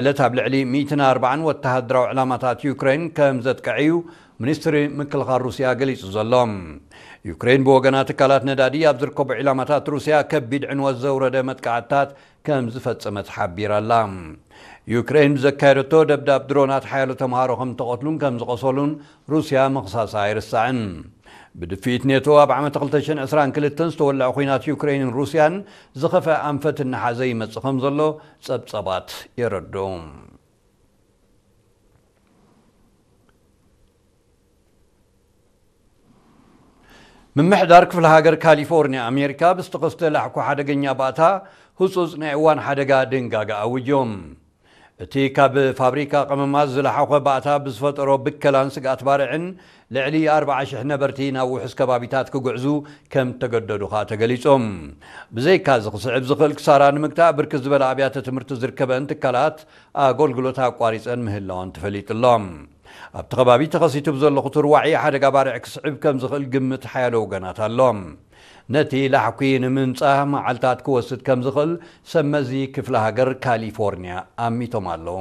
ዕለት ኣብ ልዕሊ ሚእትን ኣርባዓን ወተሃደራዊ ዕላማታት ዩክሬን ከም ዘጥቀዐ እዩ ሚኒስትሪ ምክልኻል ሩስያ ገሊጹ ዘሎ። ዩክሬን ብወገና ትካላት ነዳዲ ኣብ ዝርከቡ ዕላማታት ሩስያ ከቢድ ዕንወት ዘውረደ መጥቃዕትታት ከም ዝፈጸመት ሓቢራ ኣላ። ዩክሬን ብዘካየደቶ ደብዳብ ድሮናት ሓያሎ ተምሃሮ ከም ዝተቐትሉን ከም ዝቐሰሉን ሩስያ ምኽሳሳ ኣይርሳዕን። ብድፍኢት ኔቶ ኣብ ዓመት ክልተ ሽሕን ዕስራን ክልተን ዝተወልዐ ኲናት ዩክሬንን ሩስያን ዝኸፍአ ኣንፈት እናሓዘ ይመጽእ ከም ዘሎ ጸብጸባት የረድኡ። ምምሕዳር ክፍለ ሃገር ካሊፎርኒያ ኣሜሪካ ብዝተኸስተ ላሕኩ ሓደገኛ ባእታ ህጹጽ ናይ እዋን ሓደጋ ድንጋጋ ኣውጆም። እቲ ካብ ፋብሪካ ቀመማት ዝለሓኾ ባእታ ብዝፈጠሮ ብከላን ስግኣት ባርዕን ልዕሊ ኣርባዓ ሽሕ ነበርቲ ናብ ውሑስ ከባቢታት ክጉዕዙ ከም ተገደዱ ኸኣ ተገሊጾም። ብዘይካ እዚ ክስዕብ ዝኽእል ክሳራ ንምግታእ ብርክት ዝበለ ኣብያተ ትምህርቲ ዝርከበን ትካላት ኣገልግሎት ኣቋሪጸን ምህላወን ተፈሊጡ ኣሎ። ኣብቲ ከባቢ ተኸሲቱ ብዘሎ ክቱር ዋዒ ሓደጋ ባርዕ ክስዕብ ከም ዝኽእል ግምት ሓያሎ ወገናት ኣሎ። ነቲ ላሕኩ ንምንጻህ መዓልታት ክወስድ ከም ዝኽእል ሰብ መዚ ክፍለ ሃገር ካሊፎርኒያ ኣሚቶም ኣለዉ።